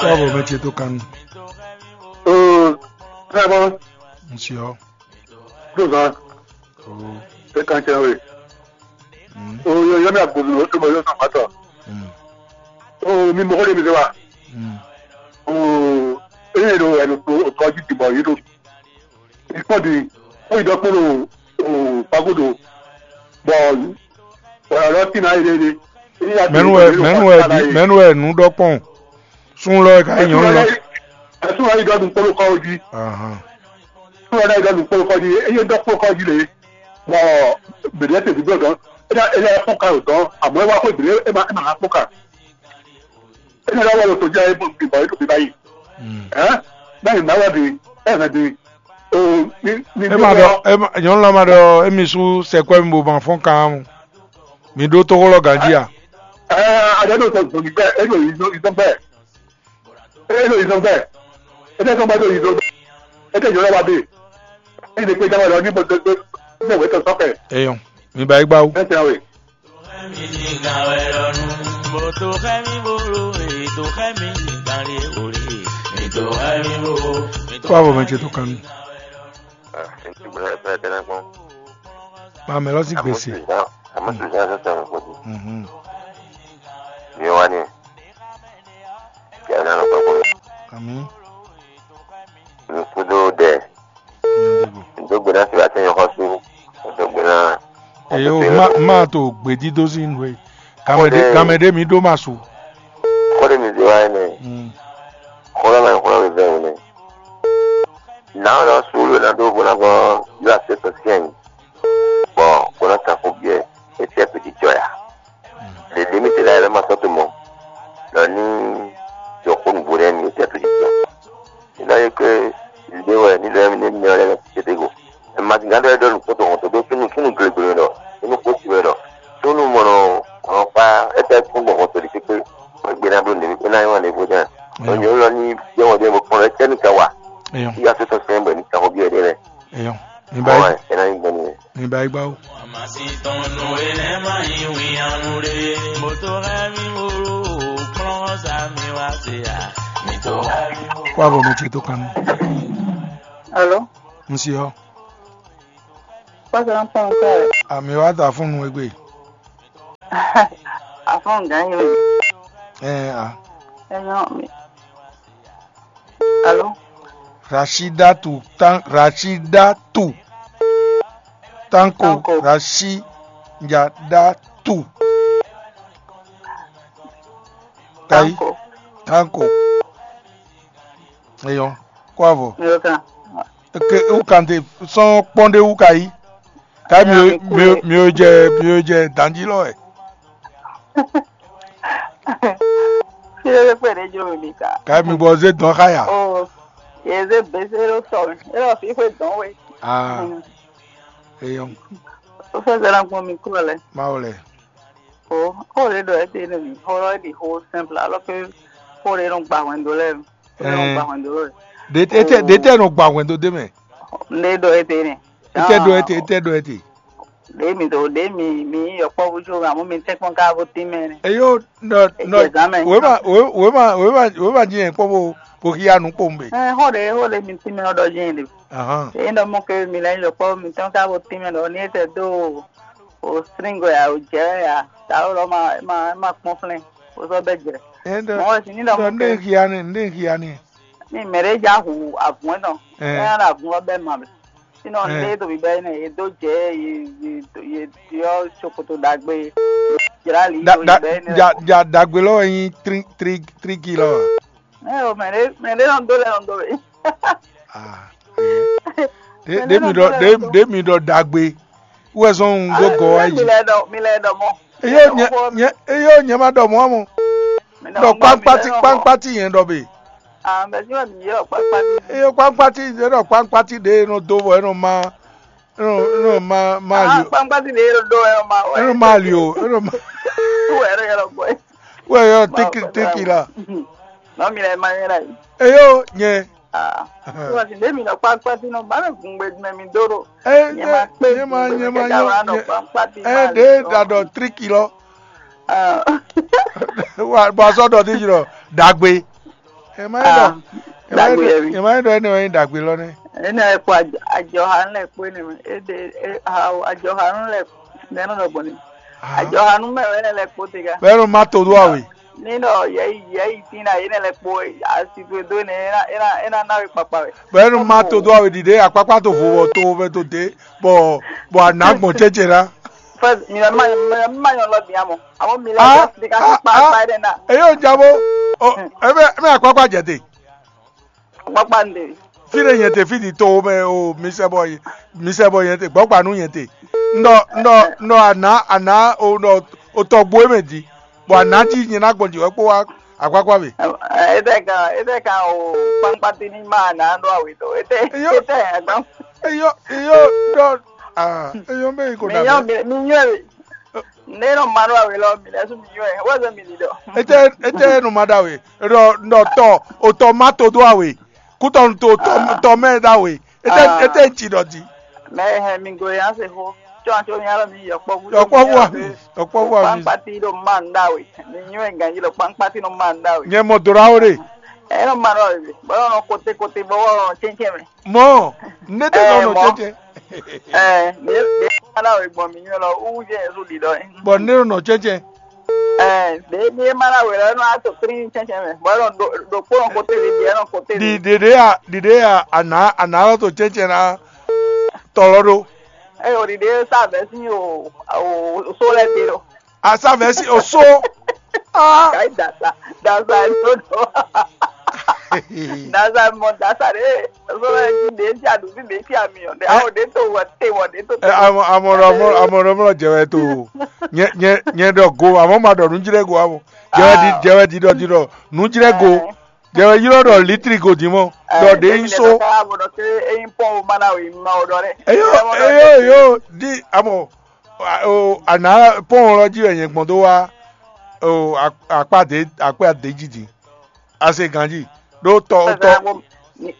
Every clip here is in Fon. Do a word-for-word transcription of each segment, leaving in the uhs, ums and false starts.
Bravo, mɛ ce tó kanu. Oo, très bon. Monsieur. Tout ça. Oh. C'est quand tu as oui. Mm. Oo, yo, yo, mi agbóhùn ló tó bɔ yóò sàn pátá. Mm. Oo, mi mɔgɔ de mi se wa. Mm. Oo, eye ɖo ɛnu tó tɔjú ti bɔ yé ɖo. Ikpɔ́ di, ó yi ɖɔ kpó ɖo oo pago ɖo. Bɔ bɔ lɔ tí na yi ɖe ɖe. Mɛnu wɛ mɛnu wɛ di mɛnu wɛ nu ɖɔ kpɔn. Sun lɔ ka yi nyɔnu lɔ. Ɛsùn wá yi ɖɔ nu kpó ɖo kɔ jí. Ahan. Sun wá yi ɖɔ nu kpó ɖo kɔ jí. Eye ɖɔ kpó kɔ jí le. Bɔ bɛdɛ tɛ bi bɔ dɔn. Ena ena ɛfɔ ka o dɔn. Amɔ ɛ wá xɔ ìbílẹ̀ ɛ ma ɛ ma ná kpó ka. Ena ɖɔ wà lọ tó jẹ́ ẹ bọ̀ bíbá yìí tó bíbá yìí. Mm. Ẹ́ báyìí náà wà dé ẹ̀ hàn dé. Oo, ní ní ema ɖɔ ema nyɔnu lɔ ma ɖɔ emi su sɛkpɛ mi bo ma fɔn kan mu. Mi ɖó tóxó lɔ ganjí a? Ɛɛ, aɖe ɖo sɔ zɔnni gbɛ, e ɖo yi zɔn gbɛ, e ɖo yi zɔn gbɛ, e tɛ sɔn gbɛ ɖo yi zɔn gbɛ, e tɛ jɔ lɛ wa de, e ɖe kpe dama lɔ ní bɔ gbɛ gbɛ gbɛ wɛ tɔ sɔkɛ. Eyɔn, mi ba yi gbawo. Ɛ tɛ awe. Kó àbọ̀ mɛ ce tó kanu. Ba mɛ lɔ sí gbèsè. Àmọ́ sì gbà sọ́sọ́ mi kò dé. Mhm. Mi wá ní. Kí ẹ náà lọ pẹ́ kó. Àmì. Mi kú dó dẹ̀. Ndógbe náà sì wá sẹ́yìn xɔsú. Ndógbe náà. Èyí ò má má tó gbèdídó sí nù é. Gamɛdé gamɛdé mi ɖó ma su. Kó lè mi zé wá yẹn nɛ. Mm. Kó lè ma nyí kó lè mi zé wò nɛ. Nǎ ɔ́ nɔ sú ló ná dó vo ná gbɔn yó asé tɔn syɛ́n bɔ bó ná kan xó biɛ é tɛ́ pědícɔ ya. Ɖěɖě mi te lɛ́ɛ lɛ́ ma sɔ́ tomɔ ɖɔ ní jɔ xó nǔgbó nɛ́ mi é tɛ́ pědícɔ. Ní ná nyí ké ɖě wɛ ní lɛ́ɛ mi ní mɛ lɛ́ɛ tete go. Ɛ ma gán ɖɔ é ɖɔ nǔkpó tɔn hɔn tó dó súnnu súnnu glegle ɖɔ súnnu kó si wɛ ɖɔ súnnu mɔnɔ ɔnɔ kpá é tɛ́ kún gbɔn hɔn tó ɖi pépé. Wọ́n gbé ná bló nèmí pé ná yín wà ní ìbò náà. Eyɔn. Ọ̀yọ́ lọ ní jẹ́wọ́n dé mo kpọ́n lọ ẹ́ tẹ́nì kan wà. Eyɔn. Kí yá tó sọ sẹ́yìn bọ̀ ní kan bí ẹ̀dẹ́ rẹ̀. Eyɔn. Mi ba Ọ̀ yi ẹ̀ ẹ̀ náà yín gbọ́n nìyẹn. Mi ba yi gbá o. Kó àbọ̀ mi ce tó kan mi. Alo, N si ɔ. Pásítọ̀ ń pọ́n nǹkan rẹ̀. Àmì wa ta fún nu egbe. Àfọ̀n gán yín o. Ẹ a. Ẹ yàn mí. Alo. Rashidatu tan Rashidatu. Tanko. Tanko. Rashidatu. Tayi. Tanko. Tanko. Eyɔn. Kó avɔ. Mi ò kàn. Ke wú kan te sɔn kpɔn ɖé wú ka yí. Ka mi Nya mi mi kú mi ò jɛ mi ò jɛ danji lɔ wɛ. Fi ɖé kpé ɖé jló mi ka. Ka mi gbɔ zé dɔn xa ya. O yeze bese ɖo sɔ mi. E lɔ fi xwe dɔn we. Ah. Mm. Eyɔn. O fɛ zɛ na gbɔn mi kúrò lɛ. Ma wò lɛ. O o le ɖɔ e te ne mi. Xɔ lɔ e ɖi xɔ simple alors que xɔ ɖe nɔ gba hwɛndo lɛ. Xɔ ɖe nɔ gba hwɛndo lɛ. Ɖe tɛ ɖe tɛ nɔ gba hwɛndo de mɛ. Ne ɖɔ e te ne. Etɛ ɖo ete, etɛ ɖo ete. Ɖe mi do ɖe mi mi yɔkpɔvu tso amú mi tɛkpɔn ká bó tín mɛ nɛ. Eyo nɔ nɔ Ejɛ zan mɛ. Wema wema wema wema ji yẹn kpɔ bo bo xia nu kpowun be. Ɛ xɔ ɖe xɔ ɖe mi tín mɛ ɔdɔ jɛ ɖe. Ahan. Eyi nɔ mɔ ke mi lɛ yɔkpɔvu mi tɔn ká bó tín mɛ ɖɔ ní etɛ do o sringo ya o jɛ ya ta o lɔ ma ma ma kpɔn flɛn o sɔ bɛ jɛ. Ɛ ndɔ Mɔ si ní ɖɔ ndɔ mɔ ndé ke xia ni ndé xia ni. Ní mɛ ɖe ja hu avun etɔn. Ɛ. Ɛ na avun lɔ bɛ ma bɛ. Sinɔ Ɛ. Lé to bíbɛ ne yě dó jɛ yě yě yě yɔ tsokoto ɖagbe jla li Da to da bíbɛ ne. Ja ja dagbe lɔ wɛ nyi tri tri tri kilɔ. Ɛ o mɛ ɖe mɛ ɖe nɔ do lɛ nɔ do bɛ. Ah. Ɖe ɖe mi ɖɔ ɖe ɖe mi ɖɔ dagbe. Wɛ zɔn un dó gɔ wá Mi yi. Lɛ dɔ mi lɛ dɔ mɔ. Eyó nyɛ nyɛ eyó nyɛ ma ɖɔ mɔ mɔ. Ɖɔ kpankpati kpankpati yẹn ɖɔ be. Ah, mɛ si wɛ mi yɔ kpankpati. Eyó kpankpati yẹn ɖɔ kpankpati ɖe nɔ do bɔ enɔ ma enɔ enɔ ma ma Ah, li o. Kpankpati ɖe ɖo ɖo ɛ ma wɛ. Enɔ ma li o enɔ ma. Wɛ ɖo yɔrɔ gbɔ. Wɛ yɔ tiki tiki la. Nɔ mi lɛ ma yɛ la yi. Eyó nyɛ. Ah, wɛ si ɖe mi nɔ kpankpati nɔ ba nɔ gun gbe mɛ mi do ɖo. Ɛ Nyɛ ma kpe nyɛ ma nyɛ ma nyɛ kɛkɛ wa nɔ nyɛ kpankpati ɛ ma ɖe le da dɔ. Dɔ triki lɔ. Ah. Wa bɔ azɔ dɔ ti yi lɔ dagbe. Ɛ má nyí ɖɔ ɛ má nyí ɖɔ ɛ má nyí ɖɔ énɛ́ wɛ nyí ɖagbe lɔ nɛ́. Énɛ́ wɛ kpo ajɔhanu lɛ́ɛ kpó énɛ́ mɛ. É ɖe é ha o ajɔhanu lɛ́ɛ nɛ́ nɔ ɖɔ gbɔn ni. Ajɔhanu mɛ wɛ énɛ́ lɛ́ɛ kpó te gá. Bɔ é nɔ má to dó awe. Ní ɖɔ yɛ̌yi yɛ̌yi tín ná énɛ́ lɛ́ɛ kpó asi towe dó énɛ́ é ná é ná é ná ná we kpakpa wɛ. Bɔ é nɔ má to dó awe ɖiɖe akpákpá to vo bɔ to mɛ to dé bɔ bɔ a nǎ gbɔn cɛ́cɛ ná. First, mi ma mi ma nyɔ lɔ bia mɔ. Amo mi lɛ Ah, de ka ah, kpa ah. kpa de na. Eyo jabo. O, ebe ebe akpakpa jɛ te. Kpakpa nde. Fi ɖe nyɛ te fi di to mɛ o mi sɛ bɔ mi sɛ bɔ nyɛ te gbɔgba nu nyɛ te. Ndɔ ndɔ ndɔ ana ana o ndɔ o tɔgbo e mɛ di. Bɔ ana ji nyɛ na gbɔn ji wɛ kpo wa akpakpa be. Ete kan ete kan o kpankpati ni ma na ɖo awe to. Ete Eyo. Ete agban. Eyo eyo dɔ ah eyo mɛ yi ko Mi na nyɔ bɛ. Mi mi nyɔ e. Ne nɔ ma ɖo awe lɔ mi lɛ su mi nyɔ e. Wo zɔ mi di dɔ. Ete ete nu ma da we. Dɔ dɔ tɔ o tɔ ma to do awe. Kutɔ nu to tɔ tɔ mɛ da we. Ete Ah. Ete ci dɔ di. Mɛ hɛn mi go ya se xo. Tsɔ atsɔ mi alɔ mi yɔ kpɔbu. Yɔ kpɔbu ami. Yɔ kpɔbu ami. Kpankpati ɖo ma n da we. Mi nyɔ e ganji lɔ kpankpati ɖo ma n da we. Nyɛ mɔ dora o de. Ɛ nɔ ma ɖo awe. Bɔ nɔ kote kote bɔ wɔ nɔ tsɛntsɛn mɛ. Mɔ, ne te nɔ nɔ cɛcɛ. Ɛ, ne ne ma na wɛ gbɔn mi nyɔ lɔ, wu jɛ Yesu ɖi dɔ. Bɔ ne nɔ nɔ cɛcɛ. Ɛ, de mi ma na wɛ lɔ, nɔ ato kri cɛcɛ mɛ. Bɔ nɔ do do kpo nɔ kote de, de nɔ kote de. Di dede a dede a ana ana lɔ to cɛcɛ na tɔlɔ ɖo. Ɛ, o ɖiɖe sa vɛ si o o so lɛ te ɖo. Asa vɛsi oso. Ah. Kai dasa dasa dodo. Dasa mɔ dasa de. Oso lɛ ti de ti adu ti de ti ami o de awo de to wɔ te wɔ de to te. Amɔ amɔ amɔ amɔ amɔ jɛ wɛ to. Nyɛ nyɛ nyɛ dɔ go amɔ ma dɔ nu jlɛ go amɔ. Jɛ wɛ di jɛ wɛ di dɔ di dɔ nu jlɛ go. Jɛ wɛ ylɔ dɔ litri go di mɔ. Dɔ de yin so. Abo dɔ ke eyin pɔn o mana o yin ma o dɔ dɛ. Eyo eyo eyo di amɔ. Ana pɔn lɔ jí wɛ nyɛ gbɔn dó wá akpá dé akpá dé jí din. Ase ganjí ɖó tɔ tɔ.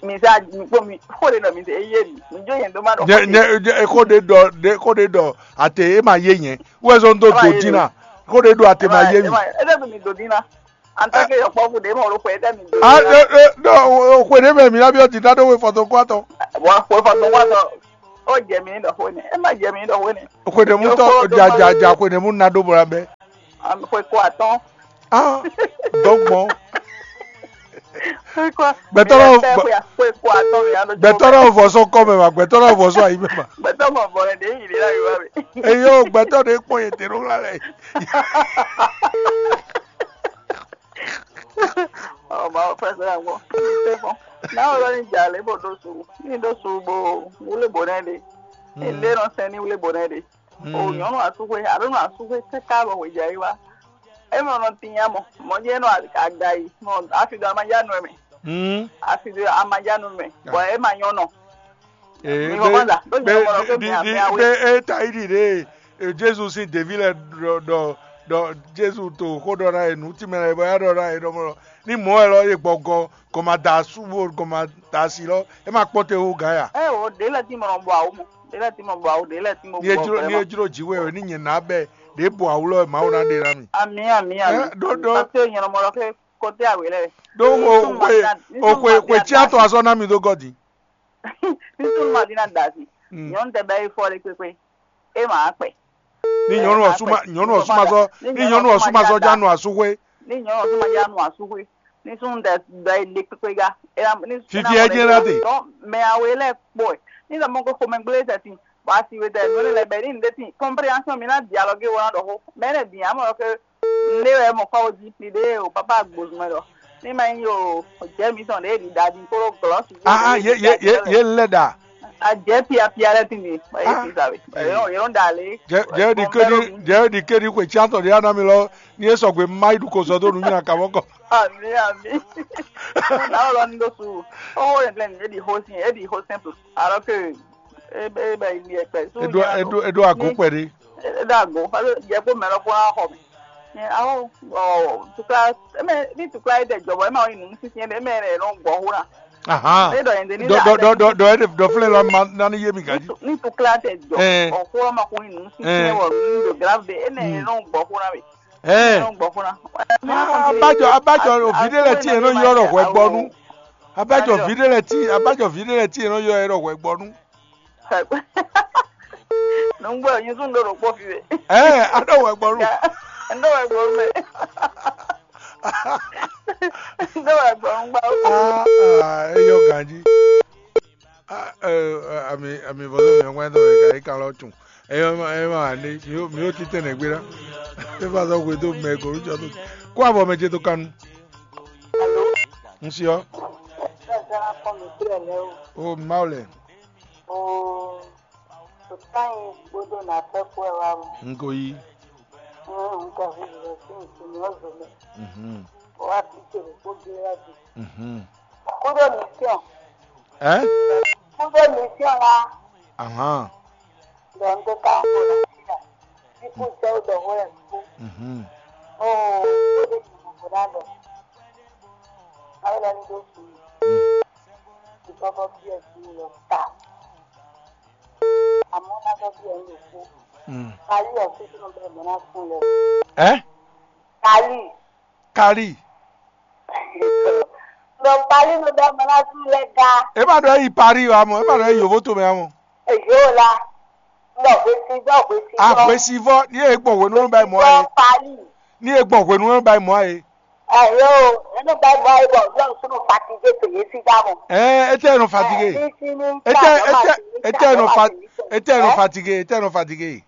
Mi sa mi kpó mi xó ɖe nɔ mi se eye mi mi jó yẹn dó ma dɔ. Nyɛ nyɛ xó ɖe ɖɔ ɖe xó ɖe ɖɔ ate e ma yé nyɛ wɛ zɔn dó do dín na xó ɖe ɖɔ ate ma yé mi. E tɛ mi do dín na. En tant que yɔkpɔ́vú ɖě mɔ ɖo xwɛ tɛ mi do. A ɖe ɖe ɖe o xwe ɖe mɛ mi na byɔ dida ɖo we fɔtɔn kɔ atɔ. Bɔ xwe fɔtɔn kɔ atɔ. O jɛ mi ɖɔ xwe nɛ. E ma jɛ mi ɖɔ xwe nɛ. Xwe ɖe mu tɔ ja ja ja xwe ɖe mu na ɖo bɔ la bɛ. Xwe kɔ atɔn. Ah, dɔgbɔn. Xwe kɔ. Gbɛtɔ lɔ xwe kɔ atɔn mi alo. Gbɛtɔ lɔ vɔ sɔ kɔ mɛ ma gbɛtɔ lɔ vɔ sɔ ayi mɛ ma. Gbɛtɔ mɔ bɔ ɖe yi ɖe la yi wa mi. Eyo gbɛtɔ ɖe kpɔn yɛ te ɖo la lɛ. Ɔ mawu fɛsɛ ya gbɔ. Fɛfɔ. Nawo lɔ ni dza lɛ bo ɖo su. Ni ɖo su bo wule bo nɛ ɖe. Ni ɖe nɔ sɛn ni wule bo nɛ ɖe. O nyɔnu asúxwé, alo nɔ asúxwé kaka bɔ hwe dza yi wa. E mɔ nɔ tinya mɔ. Mɔ jɛ nɔ aga yi. Mɔ afi do ama ya nɔ mɛ. Afi do ama ya nɔ mɛ. Bɔ e ma nyɔ nɔ. Ee, Mi xɔ kwanza, ɖó nyɛ mɔ ɖɔ xwé mi amɛ awe. Ɖe e ta yi ɖi ɖe e Jezu sín ɖevi lɛ ɖɔ ɖɔ ɖɔ Jezu to xó ɖɔ ná e nǔ tínmɛ lɛ bɔ ya ɖɔ ná e ɖɔ mɔ ɖɔ ní mɔ̌ wɛ lɔ e gbɔgɔ gɔn ma da asú bo gɔn ma da asi lɔ e ma kpɔ́n te wú gǎn ya. Ɛ o ɖe lɛ tí mo nɔ bɔ awu mɔ, ɖe lɛ tí mo bɔ awu, ɖe lɛ tí mo Ní e bɔ jló ní e jló jǐ wɛ wɛ ní nyɛ ná bɛ ɖě bɔ awu lɔ wɛ Mawu ná ɖe ná mi. Ami ami ami. Ɛ ɖó ɖó. Parce que nyɛ nɔ mɔ ɖɔ xwé kɔtɛ awe lɛ. Ɖó o xwe o xwe xwe tí a tɔ azɔ ná mi dó gɔ́ din. Ní súnmọ́ àti náà dà sí. Nyɔnu tɛ bɛ yi fɔ ɖe kpekpe. E ma akpɛ. Ní nyɔnu ɔsúma nyɔnu ɔsúma sɔ ní nyɔnu ɔsúma sɔ já nu asúxwé. Ní nyɔnu ɔsúma já nu asúxwé. Ní súnmọ́ tɛ bɛ yi ɖe kpekpe ga. Fifi ɛ jẹ́ láti. Mɛ awe lɛ kpɔ ɛ. Ní sọ mɔ ko xomɛ gblé tɛ si. Bɔ asi we tɛ nɔ lɛ bɛ ní ndé ti. Compréhension mi ná dialogue wɔ ná ɖɔ xó. Mɛ ne din amɔ ke Ne wɛ mɔ kɔ wo jí pi ɖe o papa gbozumɛ lɔ. Ní ma nyí o jɛ mi tɔn ɖe ɖi ɖa ɖi kó glɔ su. Ah ah ye ye ye ye lɛ da. A jɛ pia pia lɛ ti mi. Ye ti sa we. Ye no da le. Jɛ jɛ di ke di jɛ di ke di xwe tsi atɔ di ana mi lɔ. Ni e sɔgbe ma yi du ko zɔ do nu nyina ka mɔ kɔ. Ami ami. Na o lɔ ni do su. O wo le plɛ ni e di ho sin e di ho simple. Alors que e bɛ e bɛ yi ni e pɛ. Edo edo edo ago kpɛ de. Edo ago. Parce que jɛ ko mɛ lɔ ko na xɔ mi. Ɛ, awo, ɔ, tukla, eme, ní tukla yi ɖe jɔ bɔ ema wɔ nyi nǔ sísí ɖe, eme ɖe nɔ gbɔ xó na. Ahan. Ne ɖɔ yɛn ɖe ní Dɔ ɖa dɔ ɖe dɔ dɔ dɔ ede dɔ flɛ la ma nani yé mi Ní gaji. tu- ní tukla tɛ jɔ, Ɛɛ. Ɔ, xó ma ko nyi nǔ sísí Ɛɛ. Wɔ nǔ ɖo grave ɖe, ene Mm. Nɔ gbɔ xó na mi. Ɛɛ. Nɔ gbɔ fúnra. Abájọ, abájọ òbí ɖé lɛ tí yẹn nɔ yɔ ɖɔ hwɛ gbɔnú. Abájọ òbí ɖé lɛ tí, abájọ òbí ɖé lɛ tí yẹn nɔ yɔ ɛ ɖɔ hwɛ gbɔnú. Nùgbọ́ yín tún lóru pọ̀ fi wẹ̀. Ɛɛ, aɖɔ hwɛ gbɔnú. Ndó wẹ̀ gbọ́ mẹ́. Ndó wẹ̀ gbọ́ ń gbá. Ah, ah, eyɔ ganji. Ah, eh, eh, ami, ami vɔzɔ mi ɔgbɛn tɔn mi ka yi kan lɔ tun. Eyɔ ma, eyɔ ma ne, mi o, mi o titɛ ne gbe na. E fa sɔ gbe to mɛ ko lu jɔ to. Ko avɔ mɛ je to kanu. Ŋsi ɔ. O ma o lɛ. Kpɔtán yi kpódó nǎtɔ́ kpó wɛ wá mɔ. N ko yí. N ka hu lɛ sí nsúmí ɔ́ zo mɛ. Mhm. Wá bí tèrè kpó gé wá di. Mhm. Kúdó mission. Ɛ? Kúdó mission la. Ahán. Dɔn tó ká ń bọ̀ láti rà. Kíkú jẹ́ ó dɔ̀wọ́ ẹ̀ kú. Mhm. Ó ó lè yìí mọ̀ bó dá lọ. Báwo la ní ló sùn yìí? Ìkọ́kọ́ bí ẹ̀ sùn lọ ta. Àmọ́ ná sọ bí ẹ̀ ń lò kú. Mm. Parí ẹ̀ kú sínú bẹ́ẹ̀ mọ́ ná sùn lọ. Ẹ́? Parí. Kárí. Lọ parí ló bẹ́ẹ̀ mọ́ ná sùn lẹ ga. E ma ɖɔ yi Paris wa mɔ, e ma ɖɔ yi yovo to mɛ wa mɔ. Èyí ò la. Lọ hwesivọ́ hwesivọ́. Ahwesivɔ ní e gbɔn hwenu ló bá yi mɔ Lọ ayé. Parí. Ní e gbɔn hwenu ló bá yi mɔ ayé. Ẹ̀yọ́ o, ẹnu bá mọ ayé bọ̀ lọ́run súnú fatigué pèyé sí dámọ̀. Ɛ etɛ nɔ fatigué. Etɛ etɛ etɛ nɔ fa etɛ nɔ fatigué, etɛ nɔ fatigué.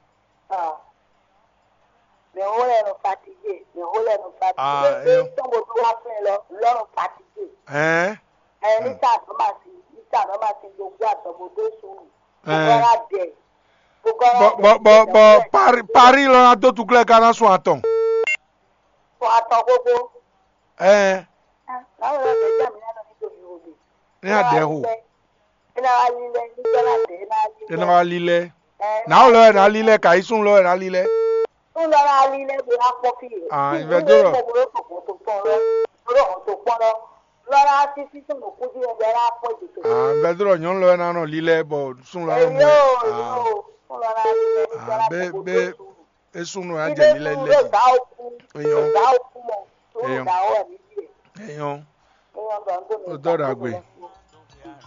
Mɛ wo lɛ nɔ fatigué, mɛ wo lɛ nɔ fatigué. Ah, Ṣé eyo. Tɔn bó tó wá fún ẹ lọ, lọ́run fatigué. Ɛn. Ɛ ní sá àtọ́ máa sí, ní sá àtọ́ máa sí gbogbo àtọ̀ bó tó sùn. Ɛ. Gbogbo ara dẹ̀. Gbogbo ara Bɔ dẹ̀. bɔ bɔ bɔ Paris Paris lɔ na dó tuklɛ ká ná sùn àtɔn. Sùn àtɔn gbogbo. Ɛ. Báwo ló ṣe jẹ́ mi lánàá nítorí òbí? Ní àdẹ́hù. Iná wa lílẹ̀ níjọ́ láti iná lílẹ̀. Iná wa lílẹ̀. Ẹ, Náà lɔ ẹ̀ ná lílẹ̀ kà í sún lɔ ẹ̀ ná lílẹ̀. Tún lọ́ra lílẹ̀ bí wá pọ́ kí yìí. Ah, ìfẹ́ tó rọ̀. Mo bolo tó pọ̀ tó pọ̀ lọ. Bolo tó pọ̀ lọ. Lọ́ra títí tó nù kú sí ẹgbẹ́ rà pọ̀ jù tó. Ah, ìfẹ́ tó rọ̀ nyɔ́nu lɔ ẹ̀ ná nọ lílẹ̀ bọ̀ sún lɔ ẹ̀ mú. Yóò Ah, yóò. Tún lọ́ra lílẹ̀ níjọ́ Ah, láti bẹ́ẹ̀ kó bẹ́ẹ̀ tó sùn. E sún nù ẹ̀ á Ibe jẹ̀ lílẹ̀ sùn lílẹ̀. Ló dá òkú. Eyɔn. Ló dá òkú mọ̀. Tó Eyɔn. Dá ọ̀ nídìí ẹ̀. Eyɔn. Eyɔn gbàgbọ́ mi. Ó dọ́dà gbé.